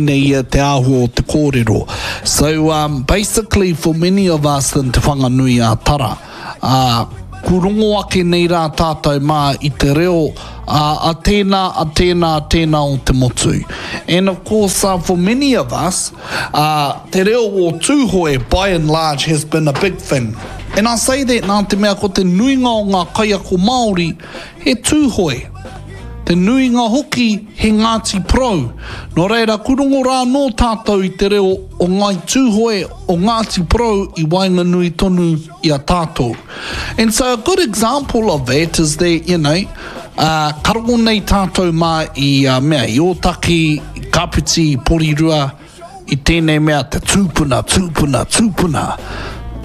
Nei ia te āhua o te kōrero. So um basically for many of us in Te Whanganui a Tara, ā, ku rongo ake nei rā tātou mā i te reo ā, a tēnā, a tēnā, a tēnā o te motu. And of course uh, for many of us, ā, te reo o Tūhoe by and large has been a big thing. And I say that nā te mea ko te nuinga o ngā kaiako Māori he Tūhoe. Te nuinga hoki he Ngāti Porou. Nō reira, ku rongo rā anō tātou i te reo o Ngāi Tūhoe, o Ngāti Porou i waenganui tonu i a tātou. And so a good example of that is that, you know, uh, ka rongo nei tātou mā i uh, mea, i Ōtaki, i Kapiti, i Porirua, i tēnei mea te tūpuna, tūpuna, tūpuna.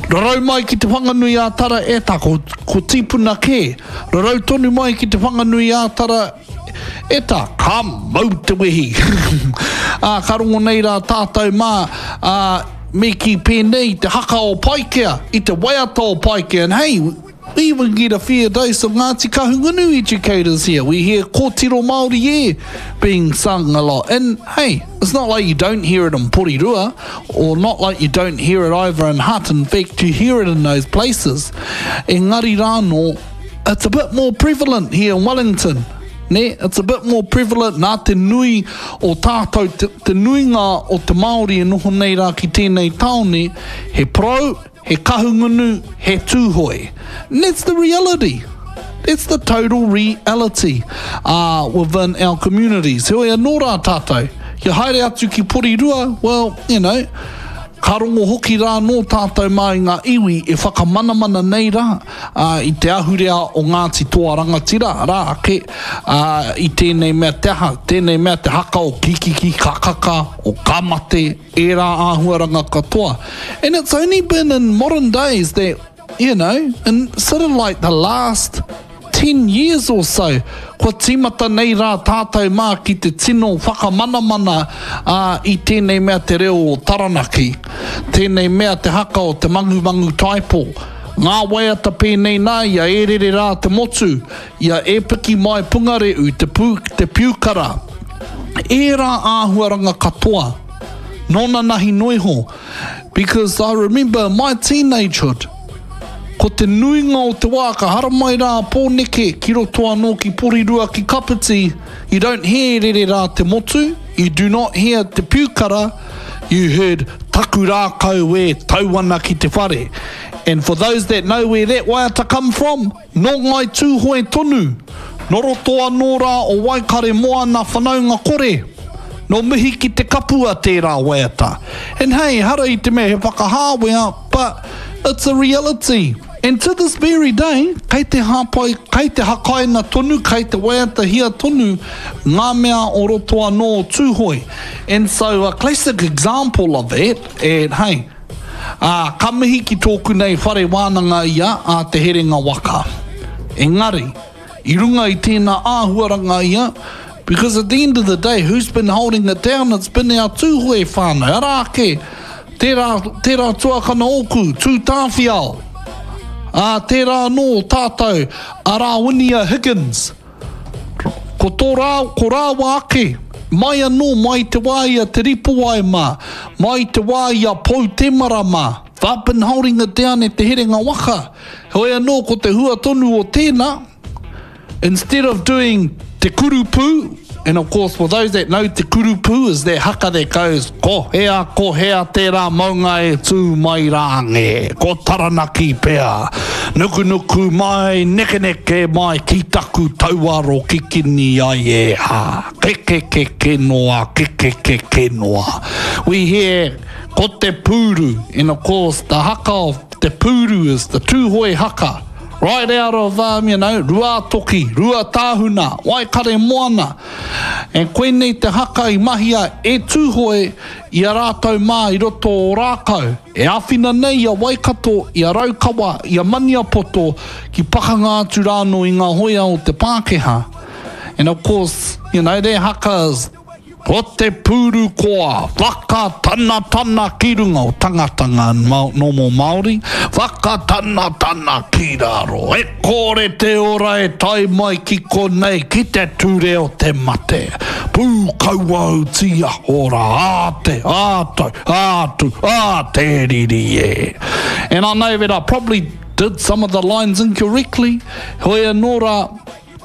Rarau mai ki Te Whanganui-ā-Tara e ta, ko, ko tīpuna kē. Rarau tonu mai ki Te Whanganui-ā-Tara e ta, ka mau te wehi. Ā, ka rongo nei rā tātou mā, ā, me kī pēnei te haka o Paikea, i te waiata o Paikea, and hey, We even get a fair dose of Ngāti Kahungunu educators here. We hear Kōtiro Māori e being sung a lot. And hey, it's not like you don't hear it in Porirua, or not like you don't hear it either in Hutt. In fact, you hear it in those places. Engari rānō, it's a bit more prevalent here in Wellington. Nē, it's a bit more prevalent nā te nui o tātou, te, te nuinga o te Māori e noho nei rā ki tēnei tāone, he porou, He Kahungunu, he Tūhoe. And that's the reality. That's the total reality uh, within our communities. Heoi anō rā tātou, kia haere atu ki Porirua, well, you know, ka rongo hoki rā nō tātou mā i ngā iwi e whakamanamana nei rā uh, i te ahurea o Ngāti Toa Rangatira, rā ake, uh, i tēnei mea te aha, tēnei mea te haka o Kikiki Kakaka, o Ka Mate, ērā āhuaranga katoa. And it's only been in modern days that, you know, in sort of like the last 10 years or so, kua tīmata nei rā tātou mā ki te tino whakamanamana ā, i tēnei mea te reo o Taranaki, tēnei mea te haka o Te Mangumangu Taipo, ngā waiata pēnei nā i a E Rere Rā Te Motu, i a E Piki Mai Pungareu, te, pū, te Piukara, ērā āhuaranga katoa. Nōnanahi noiho, because I remember my teenagehood, ko te nuinga o te wā ka haramai rā a Pōneke ki roto anō ki Porirua ki Kapiti, you don't hear rere rā te motu, you do not hear te piukara, you heard taku rākau e tau ana ki te whare. And for those that know where that waiata come from, Nō Ngāi Tūhoe tonu, nō roto anō rā o Waikaremoana whanaunga kore, nō Mihi ki te Kapua tērā waiata. And hey, ehara i te mea he whakahāwea, but it's a reality. And to this very day, kei te hāpai, kei te hakaina tonu, kei te waiatahia tonu ngā mea o roto anō o Tūhoe. And so a classic example of that, and hey, Ā, ka mihi ki tōku nei whare wānanga ia a Te Herenga Waka. Engari, i runga i tēnā āhuaranga ia, because at the end of the day, who's been holding it down, it's been our Tūhoe whānau. Arā ake, tērā, tērā tuakana ōku, Tū Tāwhiao. Ā, tērā anō tātou, a Rāwinia Higgins. Ko tō rā, ko rāua ake, mai anō, mai i te wā i a Te Ripowai mā, mai i te wā i a Pou Temara mā, they've been holding it down e Te Herenga Waka. Heoi anō, ko te hua tonu o tēnā, instead of doing te kurupū, and of course for those that know te kurupū is that haka that goes, ko hea, ko hea tērā maunga e tū mai rā nge, ko Taranaki pea. Nukunuku mai, nekeneke mai ki taku tauaro kikini ai e ha. Kekekeke noa, kekekeke noa. We hear ko te pūru, and of course the haka of te pūru is the Tūhoe haka. Right out of, um, you know, Ruātoki, Ruatāhuna, Waikaremoana. And koinei te haka i mahia e Tūhoe i a rātou mā i roto o Rākau. E āwhina nei i a Waikato, i a Raukawa, i a Maniapoto ki pakanga atu rānō i ngā hoia o te Pākehā. And of course, you know, their haka is. Ko te pūru koa, whakatanatana ki runga o tangata ngā nomo Māori, whakatanatana ki raro. E kore te ora e tae mai ki konei ki te ture o te mate. Pūkauautī ora, ā te, ā tau, ā tu, ā te riri e. And I know that I probably did some of the lines incorrectly, hoi anō rā,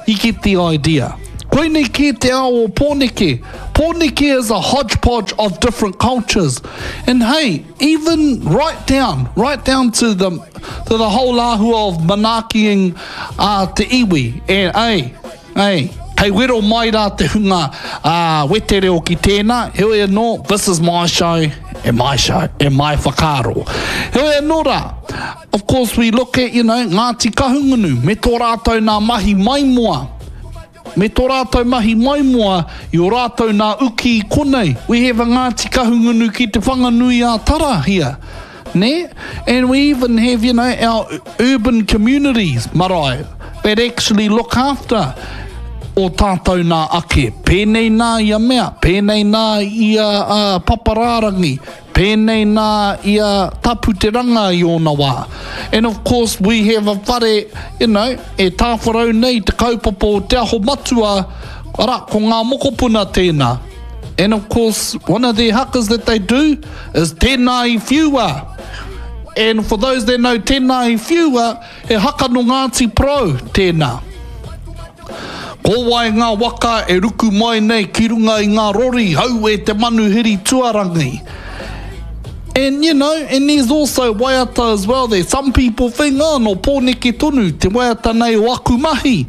You get the idea. Koinei kē te ao o Pōneke. Pōneke is a hodgepodge of different cultures. And hey, even right down, right down to the, to the whole āhua of manaakiing a te iwi. And ei, ei, kei wero mai rā te hunga uh, wetereo ki tēnā, heoi anō, this is my show, and my show, and my whakaaro. Heoi anō rā, Of course we look at, you know, Ngāti Kahungunu me tō rātou nā mahi maimoa, me tō rātou mahi maimoa i ō rātou nā uki i konei. We have a Ngāti Kahungunu ki Te Whanganui-ā-Tara here, nē? And we even have, you know, our urban communities, marae, that actually look after ō tātou nā ake. Pēnei nā ia mea, pēnei nā ia uh, paparārangi, Pēnei nā i a Tapu Te Ranga i ōna wā. And of course we have a whare, you know, e tāwharau nei te kaupapa o Te Aho Matua, arā, ko ngā mokopuna tēnā. And of course, one of their hakas that they do is Tēnā i Whiua. And for those that know Tēnā i Whiua, he haka nō Ngāti Porou tēnā. Ko wai ngā waka e ruku mai nei ki runga i ngā rori, hau e te manuhiri tuarangi. And you know, and there's also waiata as well that some people think, oh, nō Pōneke tonu te waiata nei o aku mahi.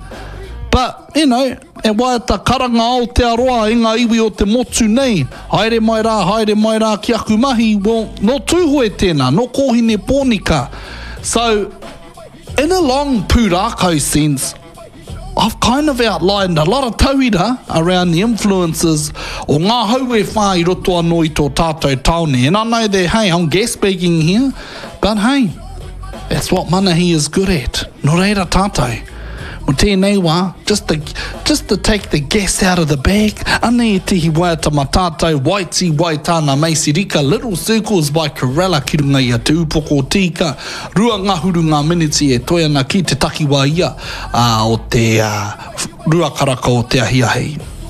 But, you know, he waiata karanga Aotearoa i ngā iwi o te motu nei, haere mai rā, haere mai rā ki aku mahi, well, nō Tūhoe tēnā, nō Kōhine Pōnika. So, in a long pūrākau sense, I've kind of outlined a lot of tauira around the influences o ngā hau e whā i roto anō i tō tātou tāone. And I know that, hey, I'm gas-bagging here, but hey, that's what Manahi is good at. Nō reira tātou, mo tēnei wā, just to, just to take the gas out of the bag, anei ētehi waiata ma tātou, Waiti Waitana Macy Rika, Little Circles by Corella ki runga i a Te Upoko o Tīka, Ruangahuru ngā miniti e toe ana ki te takiwā ia o te ā, ruakaraka o te ahiahi.